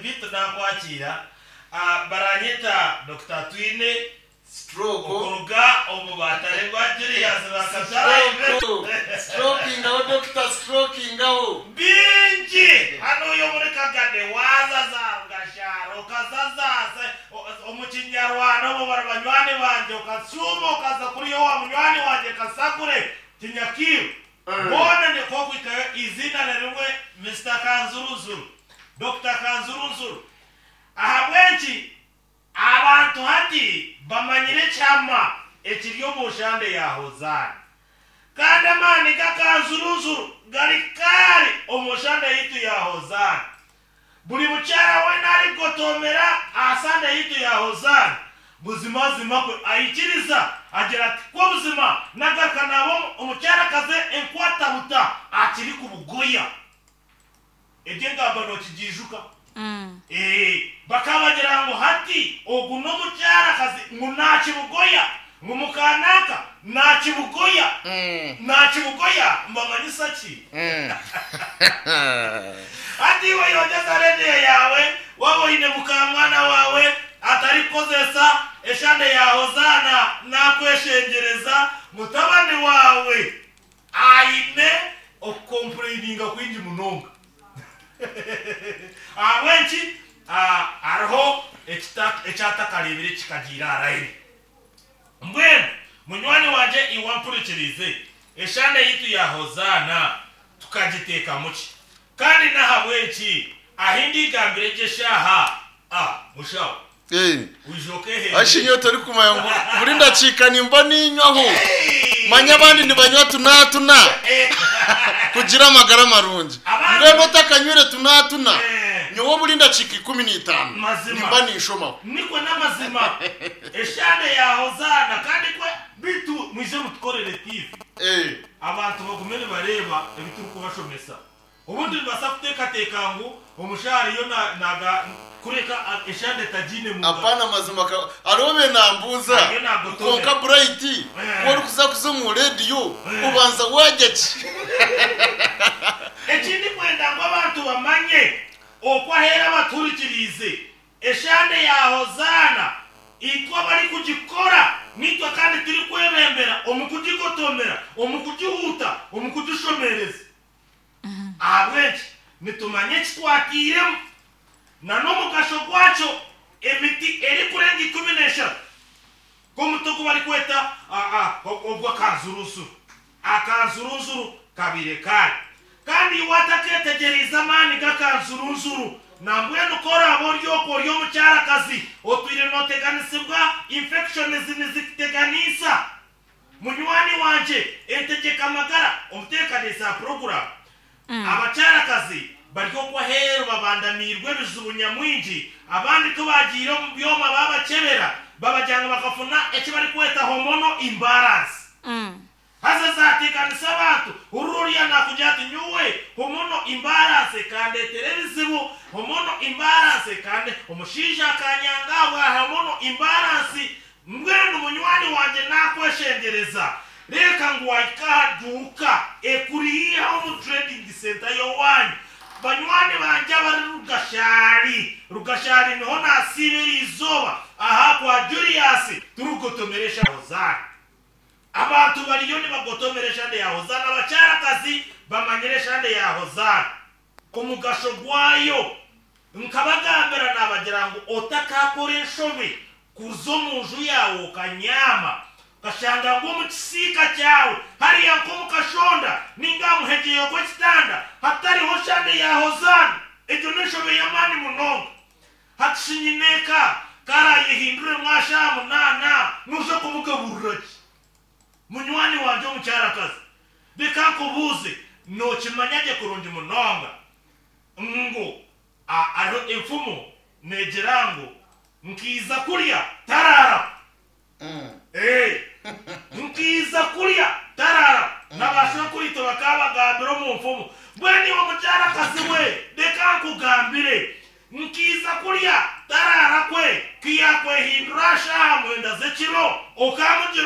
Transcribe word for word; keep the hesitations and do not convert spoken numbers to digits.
Bitu nakwakira. Ah, baranyeta Doctor Twine Stroke. Okuruga omu batare bwa Julius Bakashara. Strokingaho, doctor, strokingaho. Bingi hano uyo muri Kagade wazaza ugashara ukazaza omu Kinyarwanda omu bari banywani banje, ukasuma ukaza kuri yo wa munywani wanje Kasakure Kinyakiru. Bona niko kwikayo izina na rimwe Mister Kanzuruzuru, Doctor Kanzuruzuru. Ahabwenki abantu hati bamanyire kyama ekiri omu nshande ya Hozaana, kandi amaani g'akanzuruzuru gari kari omu nshande yitu ya Hozaana. Buri mukyara wena arigotomera aha sande yitu ya Hozaana, buzimazima kwe ayikiriza agira ati ko buzima nagaruka nabo omukyarakaze enkwatabuta akiri ku bugoya. Ebyo engamba nokigijuka. Mm. Eh, bakabagira ngo hati ogu n'omukyarakazi ngu nakibugoya, ngu mukanaka nakibugoya. Mm. Nakibugoya mbamanyisa ki? Mm. Hati iwe yongeza rediyo yawe, waba oyine mukamwana wawe atarikozesa eshande ya Hozaana, nakweshengereza mutabani wawe aine okukomplaininga kwingi munonga. Ahabw'enki? Ah, hariho ekita-, ekyatakareebire kikagiira aharaire. Mbwenu munywani wangye iwe ampurikirize, eshande yitu ya Hozaana tukagiteekamu ki? Kandi n'ahabw'enki ahi ndigambire gye eshaaha? Ah, mushaho. Eh. Wijoke he. Ashi nyowe torikumanya ngu buri ndakiika nimba ninywaho. Hey! Manya abandi nibanywa tunatuna. Eh. Kugira amagara marungi. Abandi- Mbwenu otakanywire tunatuna. Eh. Nyowe buri ndakiika ikumi n'itaano. Mazima. Nimba ninshomaho. Nikwe n'amazima. Eshande ya Hozaana kandi kwe bitu mwije mutukorere T V. Eh. Abantu bagume nibareeba ebi turikubashomesa. Obundi nibasa kuteekateeka ngu omushahara yo na-, naga kureka eshande tagine mu ngaro. Apana mazima ka-, hariho be nambuuza. Hariyo nagotomera. Konka Bright, Eh. ku orikuza kuza omu rediyo, Eh. obanza wajya ki? Ekindi kwenda ngu abantu bamanye okwo aheera baturikiriize eshande ya Hozaana itwe abari kugikora nitwe kandi turi kwebembera omu kugigotomera, omu kugihuuta, omu kugishomereza. Ahabw'enki nitumanya eki twatiiremu na n'omugasho gwakyo emiti erikurenga ikumi n'eshatu nk'omuti ogu barikweta, ah, ah, ogw'akanzuruzuru. Akanzuruzuru kabire kare. Kandi iwe atakeetegyereize amaani g'akanzuruzuru, nambwenu ko oraba ori okwo ori omukyarakazi otwire nooteganisibwa infections nizikuteganisa. Munywani wangye entegeka amagara omuteekaniisa program. Mm. Abakyarakazi bari okwo aheeru babandamirwe ebizibu nyamwingi, abandi ku bagiire omu byoma babakyebera babajyanga bakafuna eki barikweta hormonal imbalance. Mm. Haza zateganisa abantu, ururiya nakugira ati nyowe hormonal imbalance kandetera ebizibu, hormonal imbalance kande omushaija akanyanga bwa hormonal imbalance. Mbwenu munywani wangye nakweshengereza, reka ngu wahika aha duuka ekuriiha omu trading center y'owanyu. Banywani bangye abari Rugashari, Rugashari niho nasiiba eriizooba aha kwa Julius turugotomeresha Hozaana. Abantu bariyo nibagotomera eshande ya Hozaana, abakyarakazi bamanyire eshande ya Hozaana omugasho gwayo. Nkabagambira nabagira ngu otakakora enshobe kuza omu nju yawe okanyama, okashanga ngu omu kisiika kyawe hariya nk'omu kashonda ninga muhegyeyo gw'ekitanda hatariho shande ya Hozaana. Egyo n'enshobe y'amaani munonga. Hatishinyineeka karayehindure mwasha munaana nuze kumugaburira ki? Munywani wangye omukyarakazi, reka nkubuuze, nookimanya gye kurungi munonga ngu a-, hariho enfumu neegira ngu nkiiza kurya taraara. Mm. Eh.